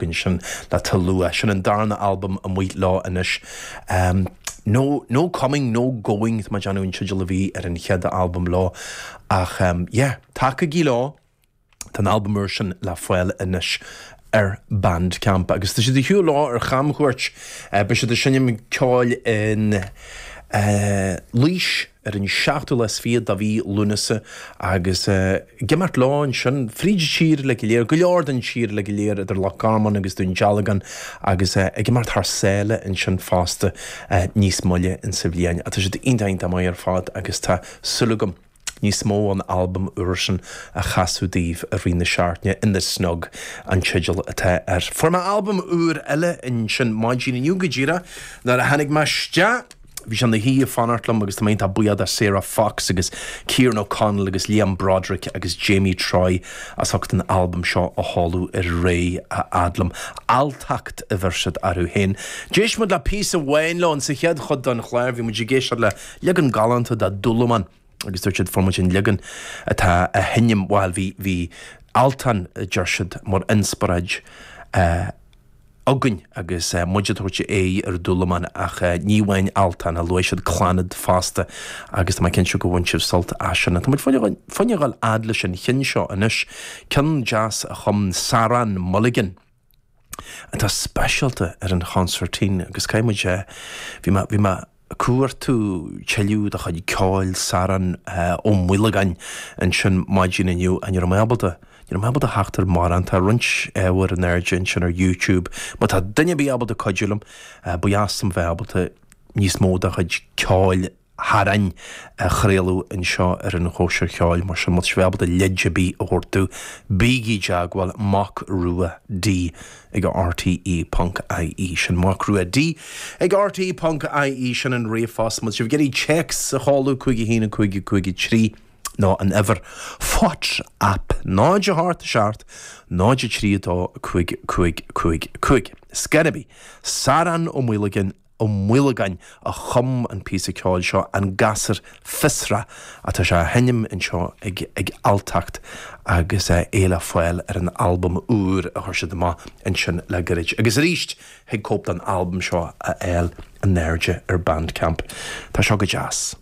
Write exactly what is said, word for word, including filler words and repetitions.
Sin le Talua sin an darna albam amuigh leo anois. Um, no, no coming, no going má an an teideal a bhí ar an chéad albam leo ach um, yeah, tacaigí leo Tá an albam úr sin le fáil anois ar Bandcamp agus tá siad ag siúl leo ar chamchuairt uh, beidh siad ag seinm ceoil in uh, Laois ar an seachtú lá is fiche de mhí Lúnasa agus uh, ag imeacht leo ansin fríd tír le go léir, go leor den tír le go léir idir Loch Garman agus Dún Dealgan agus uh, ag imeacht thar sáile ansin fosta uh, níos moille in sa bhliain. A tá siad iontach maith ar fad agus tá súil agam níos mó an albam úr sin a chasadh daoibh i rith na seachtaine In the Snug an teideal atá air. Fuair mé albam úr eile ansin maidin inniu go díreach nuair a tháinig mé isteach Bhí sé ina shuí ag fanacht liom agus tá buíoch de Sarah Fox agus Kieran O'Connell agus Liam Broderick agus Jamie Troy as ucht an albam seo a sheoladh ar aghaidh a fhad liom. Alltacht a bheir siad orthu féin. D'éist muid le píosa amháin leo sa chéad chuid den chlár bhí muid ag éisteacht le leagan galánta de Dúlamán agus dúirt siad fuair muid an leagan atá a sheinm bhuel bhí bhí Altan deir siad mar inspioráid uh, againn agus uh, muid tuairte é ar Dúlamán ach uh, ní hamháin Altan a luaigh siad Clannad fosta agus tá cinnte go bhain sibh sult as sin. Tá fáinne fhad leis an cheann seo anois ceann deas a chum Saran Mulligan. Atá speisialta ar an chonsairtín agus caiimid sé bhí bhí mé cuartú tuilleadh de chuid ceoil Saran Ó Maolagáin ansin maidin inniu an ar ábalta. Ní raibh mé ábalta theacht ar mórán tá roinnt ábhar in airde ansin ar YouTube, má tá duine ar bith ábalta cuidiú liom ba dheas liom bheith ábalta níos mó de chuid ceoil Sharain a chraoladh anseo ar an chóisir cheoil mar sin má tá ábalta leid ar bith a thabhairt dom bígí i dteagmháil Mac Rua D ag RTE ponc IE sin Mac Rua D ag RTE ponc IE sin an ríomhphost má sibh ag iarraidh téacs a sheoladh cúig a haon cúig cúig trí nó an uimhir WhatsApp náid a hocht seacht náid trí dó cúig cúig cúig cúig. Scarabi, Saran Ó Maolagáin Ó Maolagáin a chum an píosa ceoil seo an Gasúr Fiosrach atá sé á sheinm anseo ag, ag Alltacht agus é le fáil ar an albam úr a chuir siad amach ansin le gairid. Agus arís thig cóip den albam seo a fháil in airde ar Bandcamp. Tá seo go deas.